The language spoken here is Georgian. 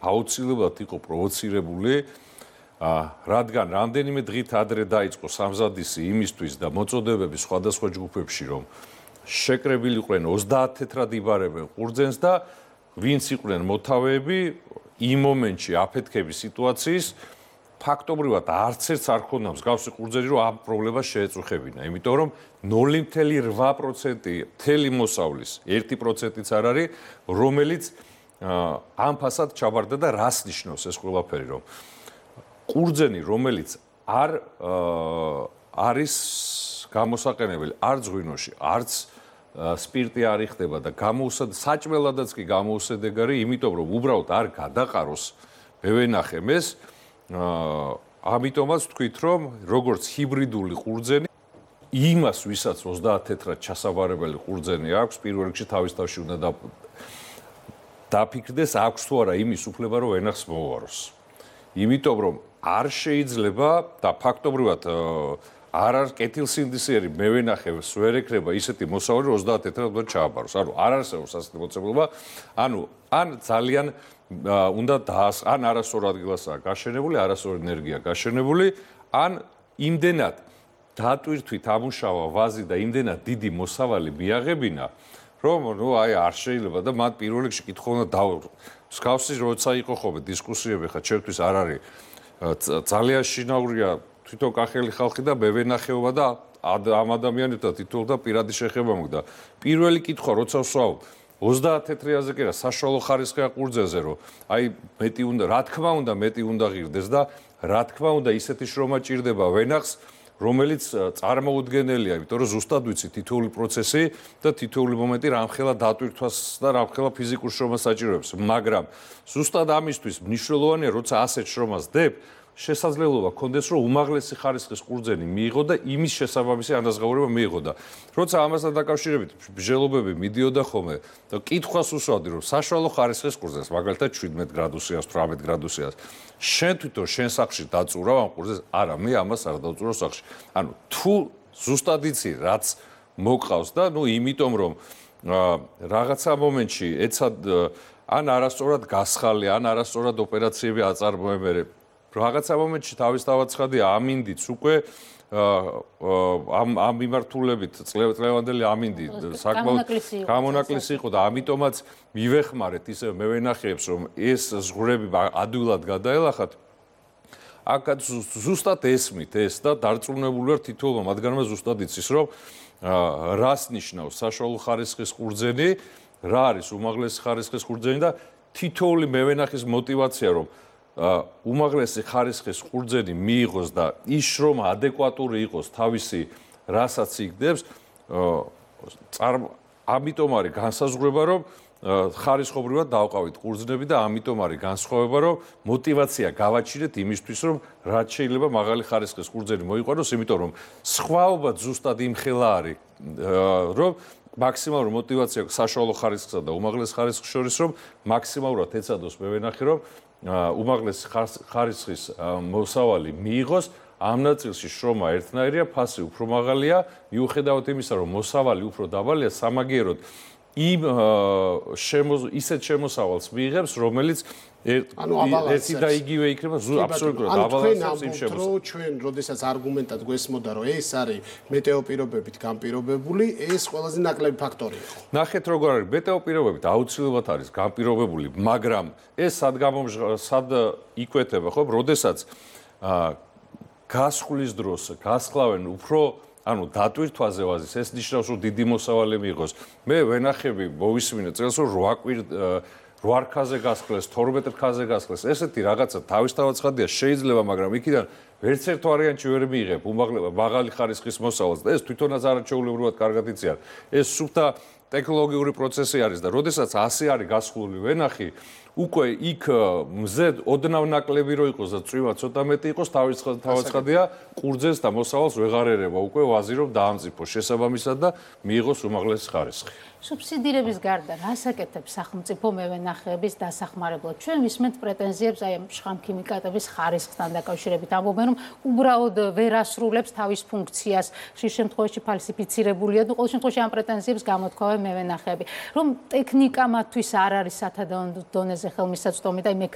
აუცილებლად იყო პროვოცირებული, რადგან რამდენიმე დღით ადრე დაიწყო სამზადისი იმისთვის და მოწოდებები სხვადასხვა ჯგუფებში, რომ შეკრებილიყვნენ 30 თეთრად იბარებენ ყურძენს და ვინც იყვნენ მოთავეები, იმ მომენტში აფეთქების სიტუაციის ფაქტობრივად არც ერთს არ ქონდა მსგავსი ყურძენი, რომ ამ პრობლემას შეეწუხებინა, იმიტომ რომ 0.8% მთელი მოსავლის 1%-იც არ არის, რომელიც ამ ფასად ჩაბარდა და რას ნიშნავს ეს ყველაფერი, რომ ყურძენი, რომელიც არ არის გამოსაყენებელი არც ღვინოში, არც სპირტი არ იხდება და საჭმელადაც კი გამოუსადეგარი, იმიტომ რომ უბრალოდ არ გადაყაროს მევენახემ ეს, ამიტომაც ვთქვით, რომ როგორც ჰიბრიდული ყურძენი, იმას, ვისაც 30 თეთრად ჩასაბარებელი ყურძენი აქვს, პირველ რიგში თავის თავში უნდა დაფიქრდეს, აქვს თუ არა იმის უფლება, რომ ვენახს მოუაროს. იმიტომ რომ არ შეიძლება და ფაქტობრივად არ არის კეთილსინდისიერი მევენახევს ვერ ეკრება ისეთი მოსავალი 30 თეთრად ჩააბაროს. ანუ არ არსებობს ასეთი მოცემულობა, ანუ ან ძალიან უნდა ან არასწორ ადგილასაა გაშენებული, არასწორ ენერგია გაშენებული, ან იმდენად დატვირთვით ამუშავა ვაზი და იმდენად დიდი მოსავალი მიაღებინა, რომ აი არ შეიძლება და მათ პირველ რიგში კითხვა უნდა დავუყო. მსგავსი როცა იყო ხოლმე დისკუსიები, ხა ჩემთვის არ არის ძალიან შინაურია თვითონ კახელი ხალხი და მევენახეობა და ამ ადამიანებთან თითოეულთან პირადი შეხება მოგდა. პირველი კითხვა როცა ვსვავ 30 თეთრიაზე კი რა საშუალო ხარისხია ყურძენზე, რომ აი მეტი უნდა, რა თქმა უნდა მეტი უნდა ღირდეს და რა თქმა უნდა ისეთი შრომა ჭირდება ვენახს, რომელიც წარმოუდგენელია, იმიტომ რომ ზუსტად ვიცი თითოეული პროცესი და თითოეული მომენტი რამხელა დატვირთვას და რამხელა ფიზიკურ შრომას საჭიროებს, მაგრამ ზუსტად ამისთვის მნიშვნელოვანია, როცა ასეთ შრომას დებ, შესაძლებლობა გქონდეს, რომ უმაღლესი ხარისხის ყურძენი მიიღო და იმის შესაბამისი ანაზღაურება მიიღო და როცა ამასთან დაკავშირებით მსჯელობები მიდიოდა ხოლმე და კითხვას უსვამდი, რომ საშუალო ხარისხის ყურძენს, მაგალითად 17 გრადუსიას, 18 გრადუსიას, შენ თვითონ შენ სახლში დაწურავ ამ ყურძენს? არა, მე ამას არ დავწურავ სახლში. ანუ თუ ზუსტად იცი, რაც მოყავს და იმიტომ რომ რაღაცა მომენტში ეცად ან არასწორად გასხალი, ან არასწორად ოპერაციები აწარმოებენ. რაღაცა მომენტში თავისთავად ცხადია, ამინდიც უკვე ამ მიმართულებით წლევანდელი ამინდი საკმაოდ გამონაკლისი იყო და ამიტომაც მივეხმარეთ ისე მევენახეებს, რომ ეს ზღვრები ადვილად გადაელახათ. აქაც ზუსტად ესმით ეს და დარწმუნებული ვარ თითოეულმა მათგანმა ზუსტად იცის, რომ რას ნიშნავს საშუალო ხარისხის ყურძენი, რა არის უმაღლესი ხარისხის ყურძენი და თითოეული მევენახის мотиваცია, რომ უმაღლესი ხარისხის ყურძენი მიიღოს და ის შრომა ადეკვატური იყოს თავისი რასაც იგდებს, ამიტომ არის განსაზღვრება, რომ ხარისხობრივად დავყავით ყურძნები და ამიტომ არის განსხვავება, რომ мотиваცია გავაჩინეთ იმისთვის, რომ რაც შეიძლება მაღალი ხარისხის ყურძენი მოიყვანოს, იმიტომ რომ სხვაობა ზუსტად იმხელა არის, რომ მაქსიმალური мотиваცია საშუალო ხარისხსა და უმაღლეს ხარისხს შორის, რომ მაქსიმალურად ეცადოს მევენახე, რომ უმაღლესი ხარისხის მოსავალი მიიღოს, ამ ნაწილში შრომა ერთნაირია, ფასი უფრო მაღალია, მიუხედავად იმისა, რომ მოსავალი უფრო დაბალია, სამაგიეროდ იმ ისეთ შემოსავალს მიიღებს, რომელიც ერთი და იგივე იქნება აბსოლუტურად აბალანსებს იმ შემოსავალს. ჩვენ როდესაც არგუმენტად გვესმოდა, რომ ეს არის მეტეოპირობებით განპირობებული, ეს ყველაზე ნაკლები ფაქტორი იყო. ნახეთ როგორ არის, მეტეოპირობებით აუცილებლად არის განპირობებული, მაგრამ ეს სად იკვეთება, ხო? როდესაც გასხლის დროს გასხლავენ უფრო დატვირთვაზე ვაზის, ეს ნიშნავს, რომ დიდი მოსავალი მიიღოს. მე ვენახები მოვისმინე წელს, რომ 8 რქაზე გასხლეს, 12 რქაზე გასხლეს. ესეთი რაღაცა თავისთავად ცხადია, შეიძლება, მაგრამ იქიდან ვერც ერთ ვარიანტში ვერ მიიღებ მაღალი ხარისხის მოსავალს და ეს თვითონაც არაჩვეულებრივად კარგად იციან. ეს სუფთა ტექნოლოგიური პროცესი არის და როდესაც ასე არის გასხლული ვენახი, უკვე იქ მზე ოდნავ ნაკლები რო იყოს და წვიმა ცოტა მეტი იყოს, თავად ცხადია, ყურძენს და მოსავალს ვეღარ ერება უკვე ვაზი რომ დაამწიფოს შესაბამისად და მიიღოს უმაღლესი ხარისხი. სუბსიდირების გარდა რას აკეთებს სახელმწიფო მევენახეების დასახმარებლად? ჩვენ ვისმენთ პრეტენზიებს აი ამ შხამქიმიკატების ხარისხთან დაკავშირებით. ამბობენ, რომ უბრალოდ ვერ ასრულებს თავის ფუნქციას, ხშირ შემთხვევაში ფალსიფიცირებულია და ყოველ შემთხვევაში ამ პრეტენზიებს გამოთქვამენ მევენახეები. რომ ტექნიკა მათთვის არ არის სათადო დონეზე ხელმისაწვდომი და მექანიზმი